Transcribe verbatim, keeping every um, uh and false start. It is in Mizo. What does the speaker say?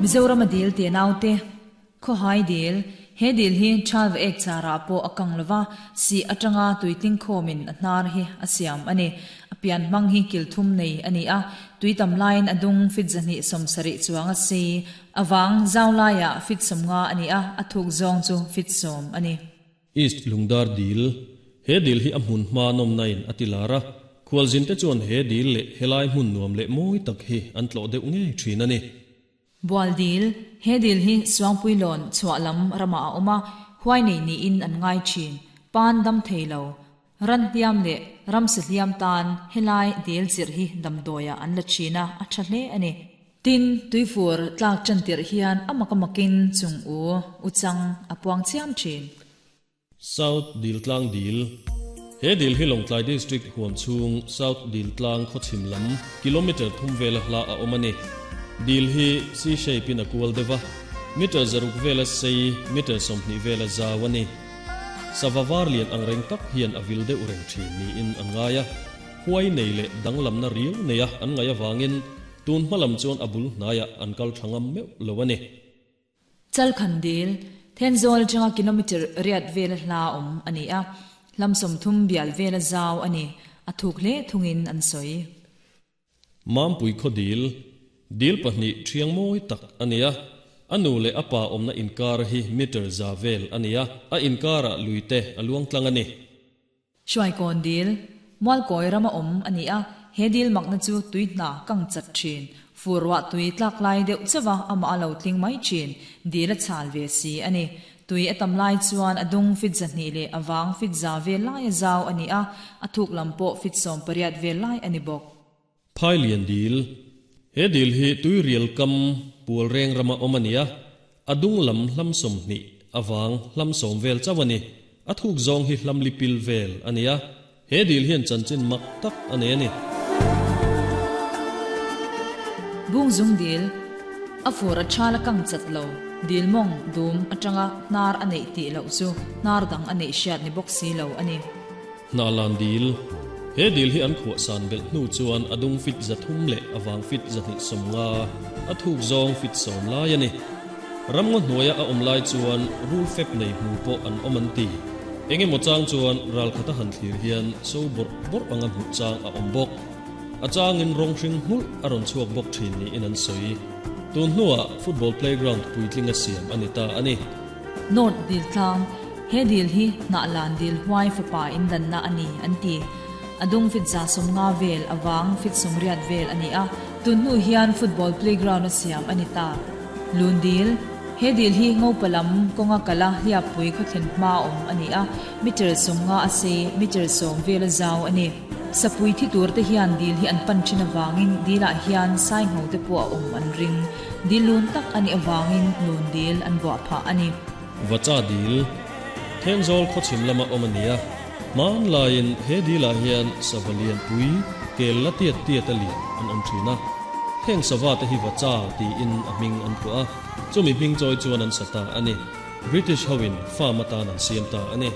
Mizoram a dil te naute kho hai dil he dil hi chalwa ek chara po akang lova si atanga tuitling khomin a hnar hi a siam ani apian mang hi kilthum nei ani a tuitam line adung fit zani somsari chuanga si awang zawlaya fit somnga ani a athuk zong chu fit som ani East Lungdar dil he dil hi a hmun hma nom nain atilara khwalzin te chuan he dil le helai hmun nuam le moi tak hi an tlo deuh nge thin ani Bual dil he dil hi suangpui lon chhualam rama a oma huai nei ni in an ngai thin pan dam theilo ran hliam le ram se hliam tan helai dil chir hi damdoya an la china a tha hle ani tin tuifur tlak chan tir hian amakamakin chung u uchang apuang chiam thin South Diltlang dil he dil hi Longtlai district huam chung South Diltlang khochim lam kilometer thum vel hla a omani dil hi c shape in a kual deva meter zaruk vela sei meter somni vela zawani savavar lian angreng tak hian avil de ureng thin ni in angaya huai nei le danglam na riu neya an ngaya wangin tun hmalam chuan abul naya ankal thangam meu lowani chalkhan dil Thenzol changa kilometer riat vel hla om ani a lamsom thum bial vel zaw ani athuk le thungin an soi Mampui khodil dil pahni thiang moi tak ania anu le apa omna inkar hi meter za vel ania a inkara luite aluang tlang ani Shuai kon dil mwal koi rama om ani a he dil makna chu tuihna kang chat thin furwa tui tlak lai deuh chawa ama alo tling mai thin dil a chal ve si ani tui atam lai chuan adung fit zahni le awang fit za ve lai zaw ani a athuk lampo fit som pariat ve lai ani bok Phailian dil he dil hi tui rial kam pual reng rama omania adung lam hlam som ni awang hlam som vel chawani athuk zong hi hlam lipil vel ania he dil hian chanchin mak tak ane ani Bung zung dil afur a chala kang chatlo dil mong dum atanga nar anei ti lo chu nar dang anei hriat ni bok si lo ani Na lan dil he dil hi an khuwa san bel hnu chuan adung fit zathum le awang fit zahni somnga athuk zong fit som lai ani ramngo hnuaia a awm lai chuan rul fep nei hmu pawh an awm an ti enge maw chang chuan ral khata han thlir hian so bawrh bawrh anga hmuh chang a awm bawk a changin rawng hring hmulh a rawn chhuak bawk thin niin an sawi tun hnuah football playground puitling a siam ani ta ani North dil tlang he dil hi na lan dil huai fapa in dan na ani an ti adung fit za som nga vel awang fit som riat vel ani a tun hnu hian football playground a siam ani ta lun dil he dil hi ngo palam konga kala hliapui kha thlen hma awm ani a meter som nga a se meter som vel a zau ani sapui thi tur te hian dil hi an pan thin awangin dila hian sai ngo te pawh a awm an ring dil lun tak ani awangin lun dil an buah phah ani Vacha dil Thenzol khochim lama awm ania man lain he dila hian savalian pui kel la tiat tiat ali an awm thina heng sawa te hi vacha ti in a hming an pua chumi hming choi chuan an sata ani British hawin farm atan an siam ta ani.